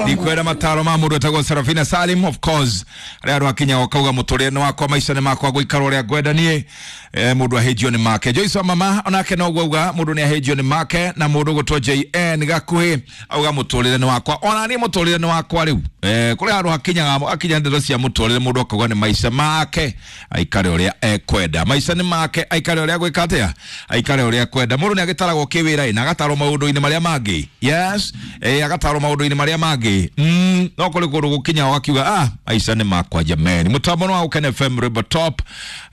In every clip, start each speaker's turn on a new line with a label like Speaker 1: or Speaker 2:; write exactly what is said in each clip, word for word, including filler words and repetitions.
Speaker 1: Ndikwenda mataro ma mũndũ etagwo Serafina Salim. Of course arĩa andũ akinya wakauga mũtũrĩre nĩ wakwa, maica nĩ makwa, gũikara ũrĩa ngwenda niĩ. eh, mũndũ ahĩnjio nĩ make. Joyce wa mama onake noguo auga mũndũ nĩ ahĩnjio nĩ make. Na mũndũ gũtwo J N gakuhĩ auga mũtũrĩre nĩ wakwa, ona niĩ mũtũrĩre nĩ wakwa rĩu. eh, kũrĩ handũ hakinyaga akinya ndeto cia mũtũrĩre, mũndũ akauga nĩ maica make, aikare ũrĩa ekwenda. Maica nĩ make, aikare ũrĩa gwĩka atĩa, aikare ũrĩa ekwenda. Mũndũ nĩ agĩtaragwo kĩwĩra na agatarwo maũndũ-inĩ marĩa mangĩ. Yes, eh, agatarwo maũndũ-inĩ marĩa mangĩ. mm, no kũrĩ kũndũ gũkinya wakiuga, "Ah, maica nĩ makwa jameni." Mũtambo wa Gũkena F M, Rwĩmbo Top.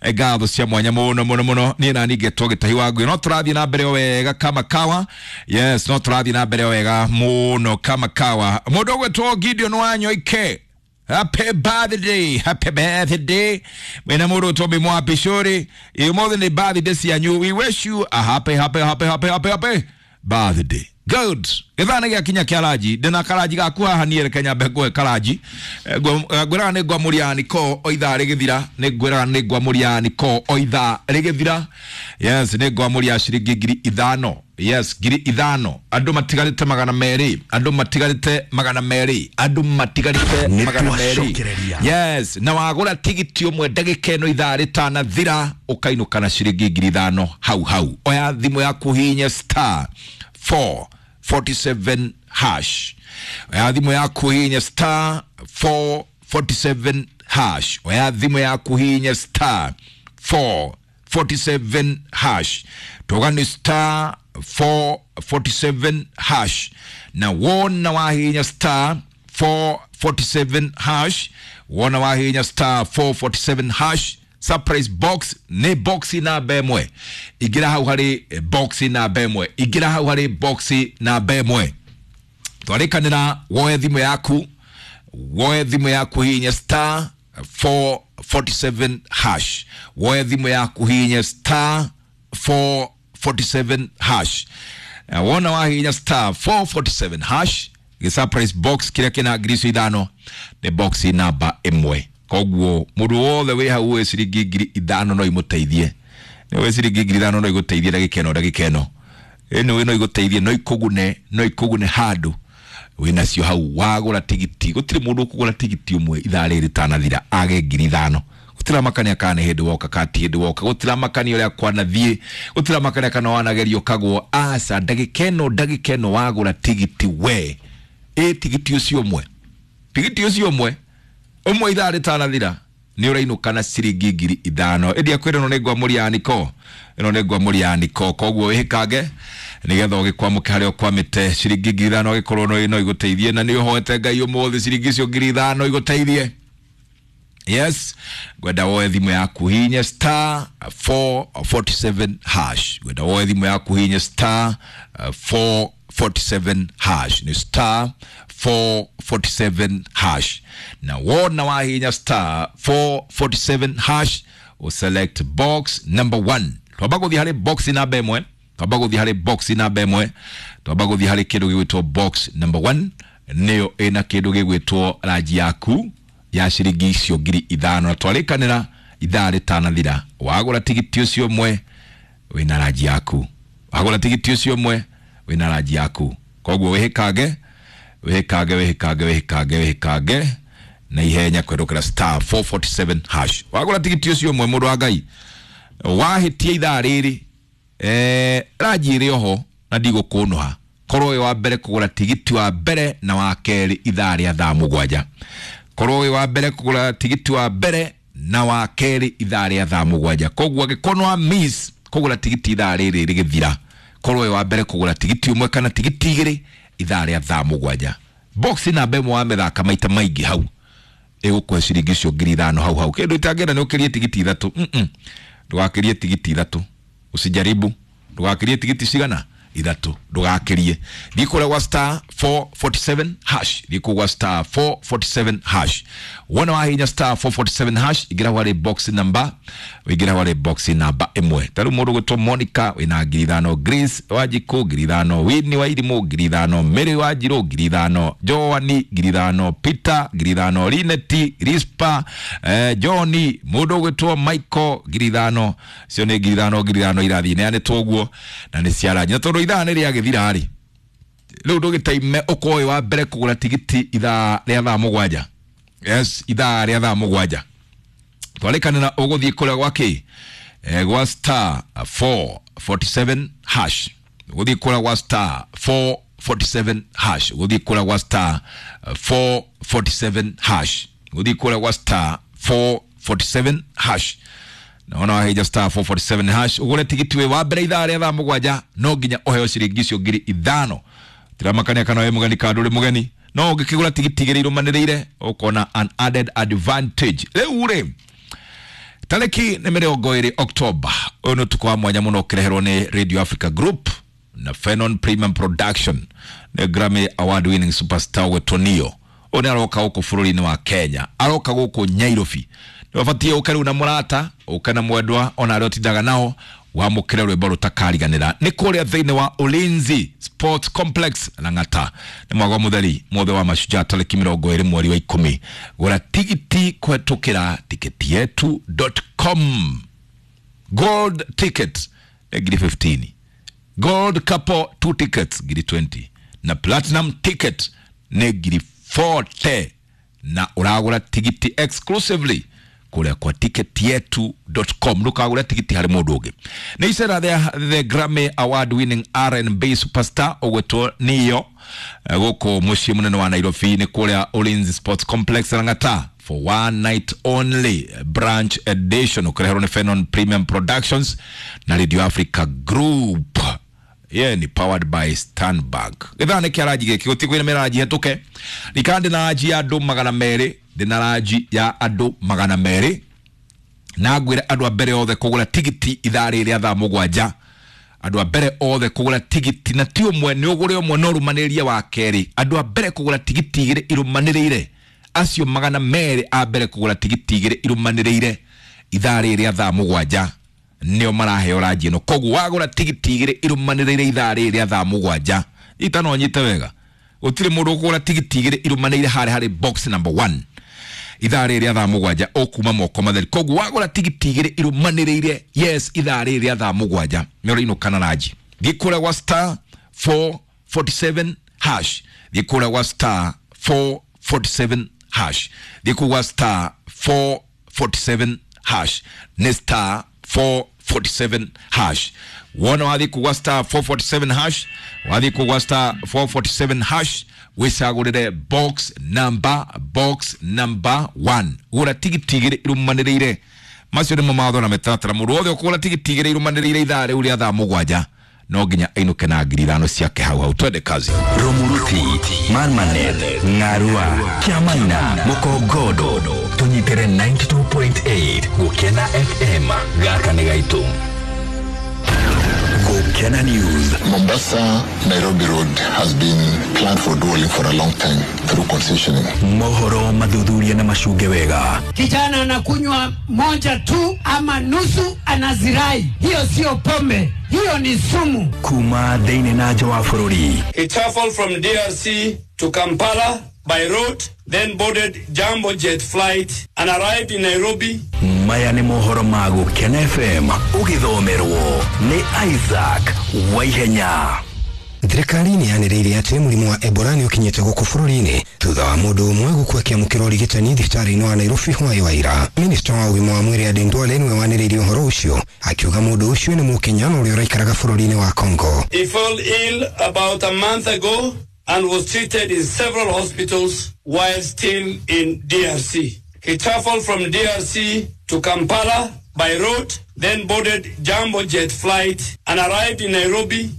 Speaker 1: eh, ngatho cia mwanya mũno mũno mũno. Niĩ na ningĩ gĩtahi wa ngui no tũrathiĩ na mbere o wega kama kawa. Yes, no tũrathiĩ na mbere o wega mũno kama kawa. Mũndũ ũgwĩtwo Gideon Wanyoike, happy birthday, happy birthday. Mwena mũndũ Tobi Mwapishori, ũmũthĩ nĩ birthday cianyu. We wish you a happy, happy, happy, happy, happy, happy birthday. Good. Gĩthaa nĩ gĩakinya kĩa ranji. Ndĩna karanji gaku haha niĩ, reke nyambe ngũhe karanji. Eh, ngwa- ngwĩraga nĩ ngwamũria niko o ithaa rĩgĩthira. Nĩ ngwĩraga nĩ ngwamũria niko o ithaa rĩgĩthira. Yes, nĩ ngwamũria ciringi ngiri ithano. Yes, ngiri ithano. Andũ matigarĩte magana merĩ, andũ matigarĩte magana merĩ, andũ matigarĩte
Speaker 2: Nĩ
Speaker 1: magana merĩ.
Speaker 2: twacokereria.
Speaker 1: Yes, na wagũra tigiti ũmwe ndagĩka ĩno ithaa rĩtanathira, ũkainũka na ciringi ngiri ithano hau hau. Oya thimũ yaku, hihinye star four forty-seven hash. Oya thimũ yaku, hihinye star four forty-seven hash. Oya thimũ yaku, hihinye star four forty-seven hash. Tuga nĩ star four forty-seven hash. Na wona wahihinya star four forty-seven hash, wona wahihinya star four forty-seven hash, surprise box nĩ box namba ĩmwe. Ingĩra hau harĩ box namba ĩmwe, ingĩra hau harĩ box namba ĩmwe. Twarĩkanĩra woe thimũ yaku, woe thimũ yaku, hihinya star four forty-seven hash. Woe thimũ yaku, hihinya star four forty-seven hash. Eh, wona wahihinya star four forty-seven hash, gĩ surprise box kĩrĩa kĩna ngiri icio ithano nĩ box namba ĩmwe. Koguo mũndũ wothe wĩ hau wĩ ciringi ngiri ithano no imũteithie. Nĩ wĩ ciringi ngiri ithano no igũteithie ndagĩka ĩno, ndagĩka ĩno ĩno no igũteithie, no ikũgune, no ikũgune handũ wĩnacio hau wagũra tigiti. Gũtirĩ mũndũ ũkũgũra tigiti ũmwe ithaa rĩrĩ rĩtanathira age ngiri ithano. Gũtiramakania kana nĩ hĩndĩ woka kana ti hĩndĩ woka, gũtiramakania ũrĩa kwanathiĩ, gũtiramakania kana wanagerio kagwo. Aca, ndagĩka ĩno, ndagĩka ĩno wagũra tigiti we ĩ tigiti ũcio ũmwe, tigiti ũcio ũmwe ũmwe ithaa rĩtanathira nĩ ũrainũka na ciringi ngiri ithano. Ĩndĩ akwĩra ĩno nĩ ngwamũria niko, ĩno nĩ ngwamũria niko. Koguo wĩhĩkange nĩgetha ũgĩkwamũke harĩa ũkwamĩte. Ciringi ngiri ithano agĩkorwo no no igũteithie, na nĩ ũhoete Ngai ũmũthĩ ciringi icio ngiri ithano igũteithie. Yes, ngwenda woe thimũ yaku, hinye star four forty-seven hash. Ngwenda woe thimũ yaku, hinye star uh, four forty-seven hash. Nĩ star four forty-seven hash. Na wona wahinya star four forty-seven hash, uselect box number one. Twamba gũthiĩ harĩ box namba ĩmwe, twamba gũthiĩ harĩ box namba ĩmwe, twamba gũthiĩ harĩ kĩndũ gĩgwĩtwo box number one, nĩyo ĩna kĩndũ gĩgwĩtwo ranji yaku ya ciringi icio ngiri ithano. Na twarĩkanĩra ithaa rĩtanathira wagũra tigiti ũcio ũmwe wĩna ranji yaku, wagũra tigiti ũcio ũmwe wĩna ranji yaku. Koguo wĩhĩkange, wĩhĩkange, wĩhĩkange, wĩhĩkange, wĩhĩkange na ihenya kwerũkĩra star four forty-seven hash. Wagũra tigiti ũcio ũmwe, mũndũ wa Ngai, wahĩtia ithaa rĩrĩ, eh, ranji ĩrĩ oho na ndigũkũnũha. Korwo wĩ wa mbere kũgũra tigiti wa mbere na wa kerĩ ithaa rĩa thaa mũgwanja, korwo wĩ wa mbere kũgũra tigiti wa mbere na wa kerĩ ithaa rĩa thaa mũgwanja. Koguo angĩkorwo nĩ wa miss kũgũra tigiti ithaa rĩrĩ rĩgĩthira, korwo wĩ wa mbere kũgũra tigiti ũmwe kana tigiti igĩrĩ ithaa rĩa thaa mũgwanja, box namba ĩmwe wamĩthaka maita maingĩ hau ĩgũkũhe ciringi icio ngiri ithano hau hau. Kĩndũ itangĩenda nĩ ũkĩrie tigiti ithatũ. mm -mm. Ndũgakĩrie tigiti ithatũ, usijaribu. Ndũgakĩrie tigiti cigana? Ithatũ, ndũgakĩrie. Thiĩ kũrĩa gwa star four forty-seven hash, thiĩ kũu gwa star four forty-seven hash. Wona wahinya star four forty-seven hash, ingĩra harĩ box number, ũingĩra harĩ box namba ĩmwe. Ta rĩu mũndũ gwĩtwo Monica wĩna ngiri ithano, Grace Wanjikũ ngiri ithano, Winnie wa Irimũ ngiri ithano, Mary Wanjirũ ngiri ithano, Joani ngiri ithano, Peter ngiri ithano, Lineti Rispa, eh, Johni, mũndũ ũgwĩtwo Michael ngiri ithano. Cio nĩ ngiri ithano, ngiri ithano irathiĩ neanĩtwo ũguo na nĩ ciaranji. Na tondũ ithaa nĩ rĩagĩthira rĩ, Rĩu ndũgĩtaime ũkorwo wa mbere kũgũra tigiti ithaa rĩa thaa mũgwanja. Yes, ithaa rĩa thaa mũgwanja. Twarĩkanĩra ũgũthiĩ kũrĩa gwa kĩ? Eh, gwa star four forty-seven hash. Ũgũthiĩ kũrĩa gwa star four forty-seven hash. Ũgũthiĩ kũrĩa gwa star four forty-seven hash. Ũgũthiĩ kũrĩa gwa star four forty-seven hash. Naona waheja star four forty-seven hash. Ũgũre tigiti wĩ wa mbere ithaa rĩa thaa mũgwanja, no nginya ũheo ciringi icio ngiri ithano. Tiramakania kana wĩ mũgeni kana ndũrĩ mũgeni, no ũngĩkĩgũra tigiti igĩrĩ irũmanĩrĩire ũkona an added advantage. Rĩu rĩ, tarĩki nĩ mĩrongo ĩrĩ October, ũyũ nĩ ũtukũ wa mwanya mũno ũkĩreherwo nĩ Radio Africa Group na Fenon Premium Production nĩ Grammy Award winning superstar gwĩtwo Neo. Ũyũ nĩ aroka gũkũ bũrũri-inĩ wa Kenya, aroka gũkũ Nyairobi. Nĩ ũbatiĩ ũke rĩu na mũrata, ũke na mwendwa, ona arĩa ũtindaga nao, wamũkĩre rwĩmbo rũtakariganĩra. Nĩ kũrĩa thĩinĩ wa Ulinzi Sports Complex Lang'ata. Nĩ mwago mũtheri mwothe wa Mashujaa tarĩki mĩrongo ĩrĩ mweri wa ikũmi. Gũra tigiti kũhetũkĩra tiketi yetu dot com. Gold ticket nĩ ngiri fifteen. Gold couple two tickets ngiri twenty. Na platinum ticket nĩ ngiri forty. Na ũragũra tigiti exclusively kũrĩa kwa ticket yetu dot com. Ndũkagũre tigiti harĩ mũndũ ũngĩ. Nĩ icera rĩa the Grammy Award winning R and B superstar ũgwĩtwo Neo gũkũ mũciĩ mũnene wa Nairobi, nĩ kũrĩa Ulinzi Sports Complex Lang'ata for one night only branch edition, ũkĩreherwo nĩ Fenon Premium Productions na Radio Africa Group. Ye ni powered by Stanbank. Githaa nĩ kĩaranji gĩkĩ gũtirĩ kwĩna mĩranji hetũke. Rika ndĩna ranji ya andũ magana merĩ, ndĩna ranji ya andũ magana merĩ, na ngwĩre andũ a mbere othe kũgũra tigiti ithaa rĩrĩ rĩa thaa mũgwanja. Andũ a mbere othe kũgũra tigiti, na ti ũmwe, nĩ ũgũre ũmwe no ũrũmanĩrĩrie wa kerĩ. Andũ a mbere kũgũra tigiti igĩrĩ irũmanĩrĩire, acio magana merĩ a mbere kũgũra tigiti igĩrĩ irũmanĩrĩire ithaa rĩrĩ rĩa thaa mũgwanja nĩo maraheo ranji ĩno. Koguo wagũra tigiti igĩrĩ irũmanĩrĩire ithaa rĩrĩ rĩa thaa mũgwanja, ita no nyite wega, gũtirĩ mũndũ ũkũgũra tigiti igĩrĩ irũmanĩrĩire harĩa harĩ box number one ithaa rĩrĩ rĩa thaa mũgwanja ũkuma moko matheri. Koguo wagũra tigiti igĩrĩ irũmanĩrĩire, yes, ithaa rĩrĩ rĩa thaa mũgwanja nĩ ũrainũka na ranji. Thiĩ kũrĩa gwa star four forty-seven hash. Thiĩ kũrĩa gwa star four forty-seven hash. Thiĩ kũu gwa star four forty-seven hash. Nĩ star four forty-seven hash. Wona wathiĩ kũu gwa star four forty-seven hash, wathiĩ kũu gwa star four forty-seven hash, wĩcagũrĩre box number, box number one. Gũra tigiti igĩrĩ irũmanĩrĩire. Macio nĩmo mawatho na mĩtaratara. Mũndũ wothe ũkũgũra tigiti igĩrĩ irũmanĩrĩire ithaa rĩu rĩa thaa mũgwanja no nginya ainũke na ngiri ithano ciake hau hau. Twende kazi.
Speaker 2: Romuruti, Marmanet, Ng'arua, Kiamaina, Mukongodo, tũnyitĩre ninety-two point eight Gũkena F M, gaka nĩ gaitũ. Gũkena News.
Speaker 3: Mombasa Nairobi Road has been planned for dualling for a long time through concessioning.
Speaker 2: Mohoro mathuthuria na macunge wega.
Speaker 4: Kijana anakunywa moja tu ama nusu anazirai. Hiyo sio pombe, hiyo ni sumu.
Speaker 2: Kuma thĩinĩ na nja wa bũrũri.
Speaker 5: He traveled from D R C to Kampala by road, then boarded Jambo Jet flight and arrived in Nairobi.
Speaker 2: Maya nĩ mohoro ma Gũkena F M ũgĩthomerwo nĩ Isaac Waihenya.
Speaker 6: Thirikari nĩ yanĩrĩire atĩ mũrimũ wa Ebola nĩ ũkinyĩte gũkũ bũrũri-inĩ thutha wa mũndũ ũmwe gũkua akĩamũkĩra ũrigitani thibitarĩ-inĩ wa Nairobi hwaĩ wa ira. Minista wa ũgima wa mwĩrĩ Aden Duale nĩwe wanĩrĩirie ũhoro ũcio akiuga mũndũ ũcio nĩ Mũkenya na ũrĩa ũraikaraga bũrũri-inĩ wa Congo.
Speaker 5: He fell ill about a month ago and was treated in several hospitals while still in D R C. He traveled from D R C to Kampala by road, then boarded Jambo Jet flight and arrived in Nairobi.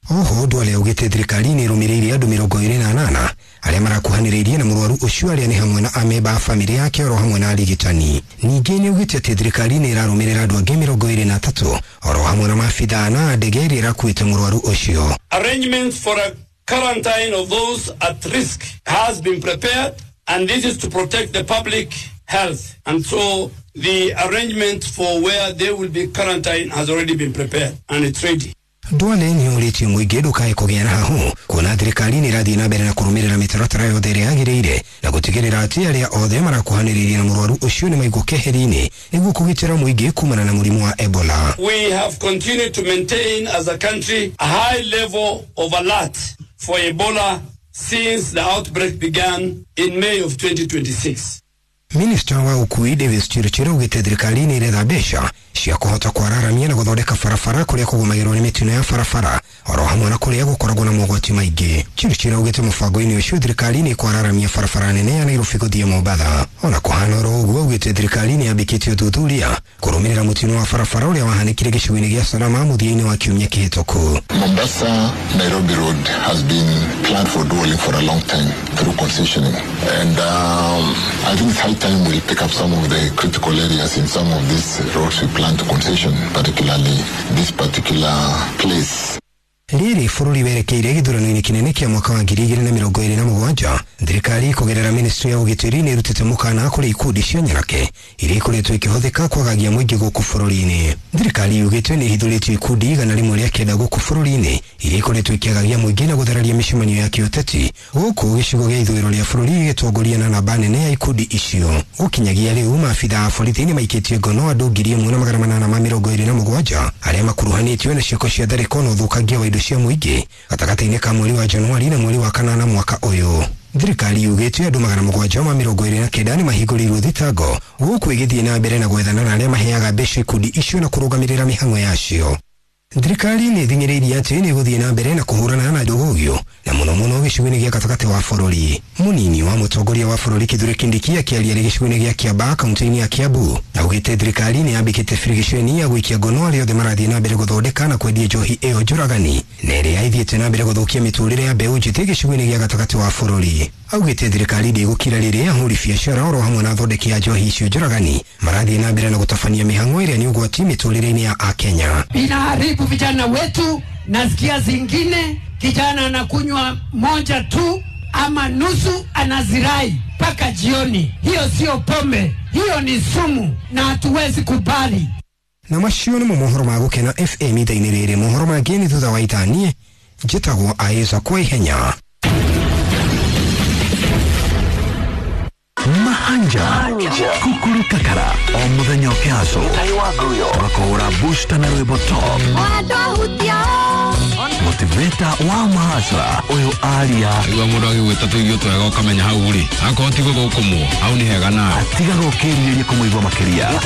Speaker 6: Oho Duale augĩte thirikari nĩ ĩrũmĩrĩire andũ mĩrongo ĩrĩ na anana arĩa marakuhanĩrĩirie na mũrwaru ũcio arĩa nĩ hamwe na amemba a bamĩrĩ yake oro hamwe na arigitani. Ningĩ nĩ augĩte atĩ thirikari nĩ ĩrarũmĩrĩra andũ angĩ mĩrongo ĩrĩ na atatũ oro hamwe na maabithaa na ndege ĩrĩa ĩrakuĩte mũrwaru ũcio.
Speaker 5: Arrangements for a quarantine of those at risk has been prepared, and this is to protect the public health. And so the arrangement for where they will be quarantined has already been prepared and it's ready.
Speaker 6: Duale nĩ orĩtie mũingĩ ndũkae kũgĩa na hahũ kuona thirikari nĩ ĩrathiĩ na mbere na kũrũmĩrĩra mĩtaratara yothe ĩrĩa yagĩrĩire na gũtigĩrĩra atĩ arĩa othe marakuhanĩrĩria na mũrwaru ũcio nĩ maigwo keheri-inĩ nĩguo kũgitĩra mũingĩ kumana na mũrimũ wa Ebola.
Speaker 5: We have continued to maintain as a country a high level of alert for Ebola since the outbreak began in May of twenty twenty-six.
Speaker 6: Minista wa ukui Davis Chirchir augĩte thirikari nĩ ĩretha mbeca cia kũhota kwararamia na gũthondeka barabara kũrĩa kũgũmagĩrwo nĩ mĩtino ya barabara oro hamwe na kũrĩa gũkoragwo na mogwati maingĩ. Chirchir augĩte mũbango-inĩ ũcio thirikari nĩ ĩkwararamia barabara nene ya Nairobi gũthiĩ Mombatha. Ona kũhana oro ũguo, augĩte thirikari nĩ yambĩkĩtie ũthuthuria kũrũmĩrĩra mũtino wa barabara ũrĩa wahanĩkire gĩcigo-inĩ gĩa Salama mũthia-inĩ wa kiumia kĩhĩtũku.
Speaker 3: Mombasa Nairobi Road has been planned for dualling for a long time through concessioning, and um, I think it's high time we pick up some of the critical areas in some of these roads we plan to concession, particularly this particular place.
Speaker 6: Rĩrĩ bũrũri werekeire gĩthurano-inĩ kĩnene kĩa mwaka wa ngiri igĩrĩ na mĩrongo ĩrĩ na mũgwanja, thirikari kũgerera ministry ya ũgitĩri nĩ ĩrutĩte mũkana kũrĩ ikundi cia nyanake iria ikoretwo ikĩhũthĩka kwagagia mũingĩ gũkũ bũrũri-inĩ. Thirikari yugĩte nĩ ĩhithũrĩtie ikundi igana rĩmwe rĩa kenda gũkũ bũrũri-inĩ iria ikoretwo ikĩagagia mũingĩ na gũthararia mĩcemanio ya kĩũteti gũkũ gĩcigo gĩa ithũĩro rĩa bũrũri gĩgĩtongoria na namba nene ya ikundi icio. Gũkinyagia rĩu maabitha a borithi nĩ maikĩtie ngono andũ ngiri ĩmwe na magana manana ma mĩrongo ĩrĩ na mũgwanja arĩa makuruhanĩtio na ciĩko cia tharĩko na ũthũkangia wa indo cia mũingĩ gatagatĩ-inĩ ka mweri wa Januari na mweri wa kanana mwaka ũyũ. Thirikari yugĩte andũ magana mũgwanja ma mĩrongo ĩrĩ na kenda nĩ mahingũrĩirwo thitango gũkũ ĩgĩthiĩ na mbere na gwethana na arĩa maheaga mbeca ikundi icio na kũrũgamĩrĩra mĩhang'o yacio. Thirikari nĩ ĩthing'ĩrĩirie atĩ nĩ ĩgũthiĩ na mbere na kũhũrana na ndũgũgio na mũno mũno gĩcigo-inĩ gĩa gatagatĩ wa bũrũri. Mũnini wa mũtongoria wa bũrũri Kithure Kindiki akĩaria arĩ gĩcigo-inĩ gĩa Kiambaa kaunti-inĩ ya Kiambu augĩte thirikari nĩ yambĩkĩte birigiceni ya gũikia ngono arĩa othe marathiĩ na mbere gũthondeka na kwendia njohi ĩyo njũragani na ĩrĩa ĩthiĩte na mbere gũthũkia mĩtũrĩre ya mbeũ njĩthĩ gĩcigo-inĩ gĩa gatagatĩ wa bũrũri. Augĩte thirikari ndĩgũkira rĩrĩa ahũri biacara oro hamwe na athondeki a njohi icio njũragani marathiĩ na mbere na gũtabania mĩhang'o ĩrĩa nĩ ũgwati mĩtũrĩre-inĩ ya Akenya.
Speaker 4: Inaharibu vijana wetu. Nasikia zingine kijana anakunywa moja tu ama nusu anazirai mpaka jioni. Hiyo sio pombe, hiyo ni sumu na hatuwezi kubali.
Speaker 6: Na macio nĩmo mohoro ma Gũkena F M ithaa-inĩ rĩrĩ. Mohoro mangĩ nĩ thutha wa ithaa. Niĩ njĩtagwo Aĩza kwa ihenya.
Speaker 2: Mahanja Kukuru Kakara o muthenya ũkĩhaco tũgakũhũra booster na rwĩmbo top motivator wa mahacra ũyũ aria
Speaker 7: igua mũndũ agĩgwĩta tũirio twega ũkamenya hau rĩ akorwo ti gũthũkũmwo hau nĩ hega nawe
Speaker 2: atigaga ũkĩrirĩria kũmũigua makĩria.